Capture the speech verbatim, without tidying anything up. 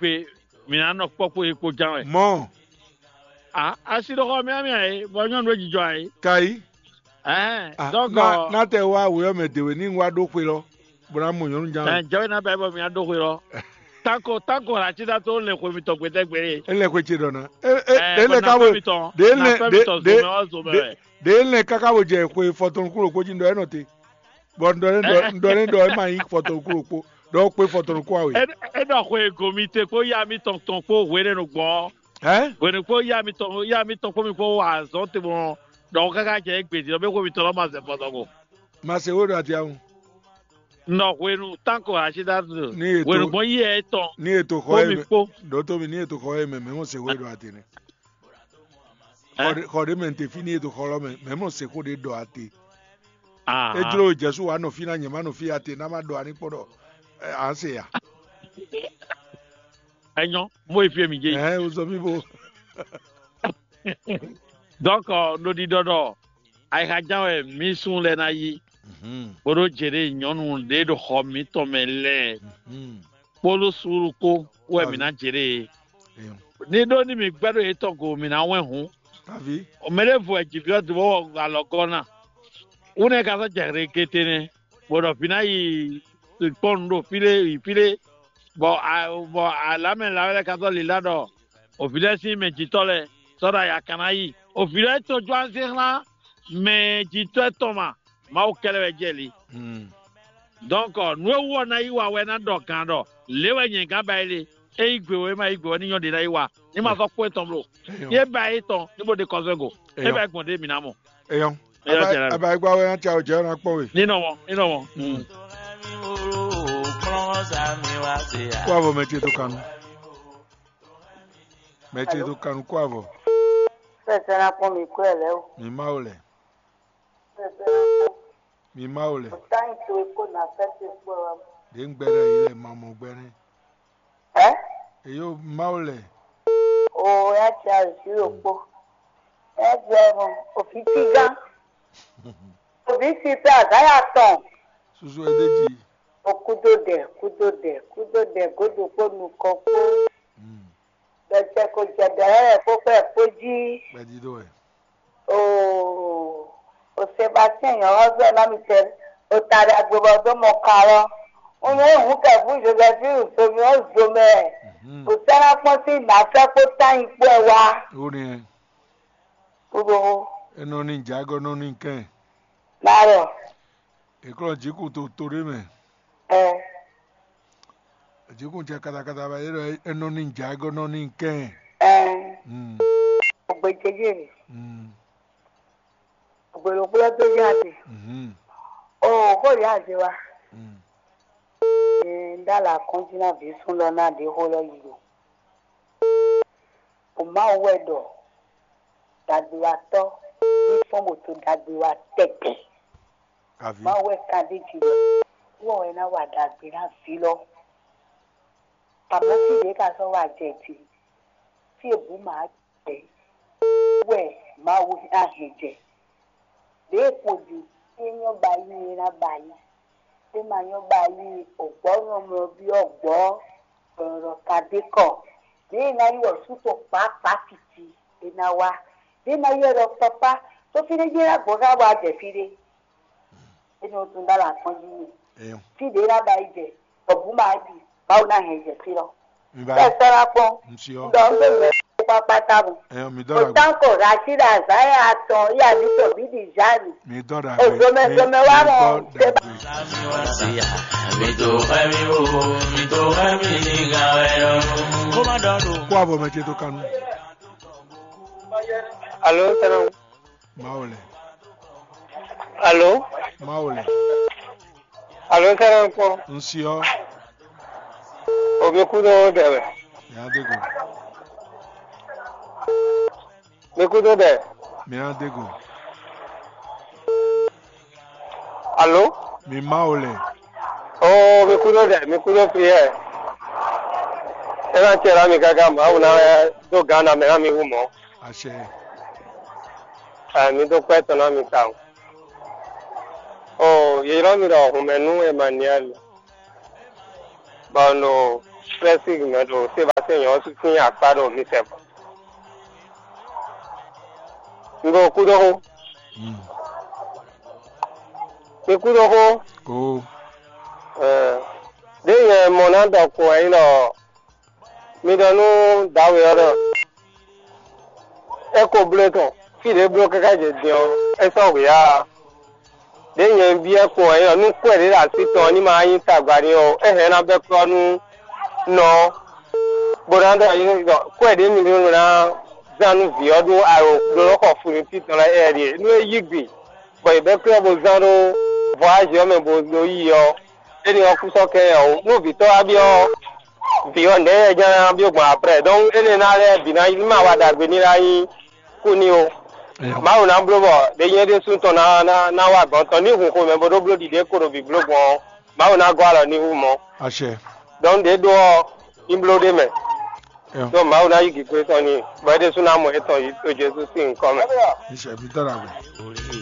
kpe, mǐ ná nɔ kpɔ́ kpó é kpó ján wɛ. Mɔ̌. A asi ɖo xɔ mìá mìá é, bɔ nyɔ́nu e jijɔ ǎ é. Kayi. Ɛhɛn, Ah, donc, na, na tɛ wá wě ɔ́ mɛ dě wě ní wá ɖó xwe lɔ, bó ná mɔ nyɔ̌nu ján wɛ. Ɛn jɛwé ná bɛ bɔ mìá ɖó xwe lɔ. Tanko tanko hã cí ná tó lɛ xwe mitɔn gbɛtɛgbɛ é. É lɛ xwe ce ɖɔ ná. É é Ɛn, é bɔ lɛ ná ká fẹ́ wɛ. Mitɔn, Ɖě ná lɛ fẹ́ ɖě mitɔn ɖě zomɛ ɔ́ zomɛ ɖě wɛ. Ɖě lɛ káká wo jɛ xwe fɔtɔn kúrò kpó jí ɖɔ é nɔ te. Bɔ un ɖɔ nɛ́ ɖɔ un ɖɔ nɛ́ ɖɔ é ma nyí fɔtɔn kúɖokpó, ɖɔ ó kpé fɔtɔn nukún awe. É é ɖɔ xwe e go mi te kpó yá mitɔn tɔn kpó hwenɛ́nu gbɔn ɔ́, Hɛn? Hwenu kpó yá mitɔn yá mitɔn kpó mi kpó wa azɔ̌ te mɔ ɖɔ xó káká jɛ égbé din ɔ́, bó xwe mitɔn nɔ ma zɛ fɔtɔn go. Ma se wé ɖo ati awu. Un ɖɔ hwenu tánko Rashidatu Ní e to hwenu gbɔn yí ɛ tɔn ní e to xɔ kpó é mi mɛ kpó. Ɖǒtó mi ní e to xɔ é mɛ mɛ mɔ se wé ɖo ati nɛ. Xɔ ɖé xɔ ɖé mɛ un te fí ní e to xɔ lɔ mɛ mɛ mɔ se xó ɖé ɖɔ ati. Ah, É jló Jɛsu wǎ nɔ fí ná nyɛ má nɔ fí ate ná má ɖɔ aní kpɔ́ ɖɔ ɛ, ǎ se ya. Enyɔ, mo yi fie mi je. Ɛ o zɔ mi bo. Donc, ɖo ɖiɖɔ ɖɔ ayixa ján wɛ mí sún lɛ ná yí, bó ɖó jeɖe nyɔnu ɖé ɖo xɔ mǐtɔn mɛ lɛ́ɛ kpódó suúlu kpó wɛ mǐ ná jeɖe é. Ní ɖó ní mǐ gbɛ́ ɖo yětɔn go mǐ ná wɛn hǔn, Kaví. Mɛ ɖěvo wɛ jǐ byɔ́ dó bó alɔ gɔ́ ná. Wú nɛ́ ka sɔ́ jɛ hlegete nɛ́, bó ɖɔ vǐ ná yi kpɔ́n nǔ ɖo fí ɖé yi fí ɖé, bɔ a- bɔ alámɛ lǎwɛ lɛ́ɛ ka sɔ́ lǐlá ɖɔ òvǐ lɛ́ɛ sín mɛ jǐtɔ́ lɛ́ɛ sɔ́ ɖo aya kan ná yi. Òvǐ lɛ́ɛ tɔn jó azé xlán mɛ jǐtɔ́ tɔn ma, Mawu kɛ́ lɛ́ wɛ jɛ li. Donc nǔ e wú ɔ́ ná yi wa wɛ ná ɖɔ gǎn ɖɔ lě wɛ nyɛ gán ba é lé. É yí gbe wɛ é ma yí gbe wɛ ní nyɔ́ ɖě ná yi wa. Ní ma sɔ́ kpó etɔn bló. Yé ba é tɔn ní bó ɖe kɔzɔ́ go. É ba é gbɔn ɖě mǐ ná mɔ. Eyɔn. Eyɔn jɛ ná. Aba igba wɛ ná tsa o jɛ ná kpɔ we. Ní nɔ mɔ, ní nɔ mɔ. Kó avɔ mɛ ce tó kanu. Mɛ ce tó kanu kó avɔ. Fɛsɛ ná kpɔn mi kó ɛ lɛ o. Mi ma o lɛ. Fɛsɛ ná kpɔn. Mi ma o lɛ. O ta nyi to e kó na fɛ to e kpɔ wa. Ɖe ń gbɛ ɖe yi lɛ ma mɔ gbɛ nɛ. Ɛ? Eyo ma o lɛ. O ya tsa zi o kpó. Ɛ jɛ mɔ, o fi ti gán. O fi ti pɛ azaya tɔn. Susu ɛ dé ji. O kúdó ɖɛ, kúdó ɖɛ, kúdó ɖɛ, godo kpó nukɔ kpó. Ɖɔ jɛ ko jɛ ɖɔ lɛ́ɛ kpó kpɛ́ kpó jí. Gbɛdídó wɛ. Oo, o Sebastien nyɔ̌ ɔ́ zɔ ná mi tɛ o ta ɖagbe bɔ dó mɔ ka lɔ. Un nyɛ hǔn kɛ vú Josephine zomi ɔ́ zo mɛ. O sɛ́ ná kpɔ́n sín nǎfɛ́ kpó tányi kpó ɛ wá. Ó ní ɛ. Kúdó. E nɔ ní jǎgɔ́ nɔ ní kɛn. Ná ɖɔ. È klɔ́ jǐkun to to ɖé mɛ. Ɛ. Jǐkun jɛ katakata wɛ é ɖɔ é nɔ ní jǎgɔ́ nɔ ní kɛn. Ɛ. Mm. Ògbè jẹjẹ rè. Mm. Ògbè ló kplɔ́ tó jẹ́ àti. Mhm. O kò rí àti wa. Mm. Ɛ ń dá là kɔn jí ná vǐ sún lɔ ná ɖě xó lɔ yí o. O Mawu wɛ ɖɔ ɖagbe wa tɔ́ ní fɔ́n bò to ɖagbe wa tɛgbɛ. Àbí? Mawu wɛ kan ɖ'é jí ɖɔ wɔ wɛ ná wa ɖagbe ná vǐ lɔ. Àmọ́ fí ɖě ka sɔ́ wa jɛ din, fí e bǔ mǎ jɛ wɛ Mawu ná hɛn jɛ. Ɖěe kpo din, é nyɔ́ ba yí é ná ba yí. É ma nyɔ́ ba yí ògbɔ́ nɔ mlɔ byɔ́ gbɔ̌, bɔ è nɔ ɖɔ ka dé kɔ. Ɖěe ná yí wɔ sú tɔn kpǎkpá titi, é ná wá. Ɖěe ná yí wɛ ɖɔ papá, tó fí ɖé jɛ́n ná gbɔn xá bɔ a jɛ fí ɖé. É nɔ tún ɖó alɔ akpɔ́n jí nyi. Eyɔn. Fí ɖě ná ba yi jɛ, bɔ bǔ ma yi, Mawu ná hɛn jɛ fí lɔ. Mi ba Ɛ yi. Sɔ́ ná kpɔ́n. Ŋsi ɔ. Ŋdɔ ŋdɔ mɛ kpakpata mu. Eyɔn, mi dɔ O ɖagbe. Tanko Rashida Zaya atɔn ya mi tɔ mi di zani. Mi dɔ O ɖagbe. Zɔmɛ Mi- zɔmɛ wa mi mɔ. Dɔ Seba. Ɖagbe. Kó avɔ mɛ ce tó kanu. Alo, sɛnɛ. Mawu lɛ. Alo. Mawu lɛ. Alo, sɛnɛ kpɔ. Ŋsi ɔ. O mi kú ɖó ɖɛ wɛ. Mi á dé go. Mi kú ɖó ɖɛ. Mi á dé go. Alo. Mi Mawu lɛ. Oo, mi kú ɖó ɖɛ, mi kú ɖó fiyɛ. É ná tiɛ ná mi káká, Mawu ná dó gǎn ná mɛ ná mi wú mɔ̌. Àṣẹ. Ɛ, mi dó kpɛ́ tɔn ná mi tawun. Oo, yě ylɔ́ mi ɖɔ hǔnmɛnú Emmanuel. Bɔ un ɖo Fɛsík mɛ ɖo Sebastien nyɔ̌ sín akpá ɖo mi sɛ kɔ. Un ko kú ɖó xó. Mi kú ɖó xó. Ko. Ɖěe nyɛ mɔ ná ɖɔ ko wɛ nyí ɖɔ mi ɖɔ nú dǎwe ɔ́ ɖɔ é ko bló tɔn fí ɖě bló káká jɛ din ɔ́, é sɔ́ hwě ǎ. Ɖěe nyɛ byɔ́ ko wɛ nyí ɖɔ nú kwɛ́ ɖě ɖo así tɔn ɔ́ ní ma nyí tagba n'i ɔ́, é hɛn ná bɛ́ kɔ́ nú nɔ ɔ́, bó ná ɖɔ kwɛ́ ɖě mi ɖó ná zán nú vǐ ɔ́ ɖó ayo ɖó xɔ funu títɔn lɛ́ɛ é ɖíe. Nú é yí gbe bɔ è bɛ́ kwɛ́ ɔ́ bó zán ɖó vɔ̌yázi ɔ́ mɛ bó ɖó yi ɔ́, énɛ́ ɔ́ kú sɔ́ kɛ ɔ́, nú vǐtɔ́ wá byɔ́ vǐ ɔ́, nɛ̌ yɛ ján ná byɔ́ gbɔn aprɛ? Donc énɛ́ ná lɛ́ɛ bǐ ná nyí nú ma wa ɖagbe ní ná nyí kú ní ó. Mawu ná bló bɔ ɖě nyɛ ɖésú tɔn ná ná ná wa gɔ̌n tɔn ní hun xomɛ bó ɖó bló ɖiɖě ko ɖo bǐ bló gbɔn ɔ́, Mawu ná gɔ́ alɔ ní hú mɔ. Acɛ. Donc ɖě ɖó ɔ́, ní bló ɖé mɛ. Donc Mawu ná yí gǐgwé tɔn n'i, bɔ é ɖésú ná mɔ étɔn yi ɖo Jezu sín nyǐkɔ mɛ. Ní sɛ vítɔ́ ɖagbe.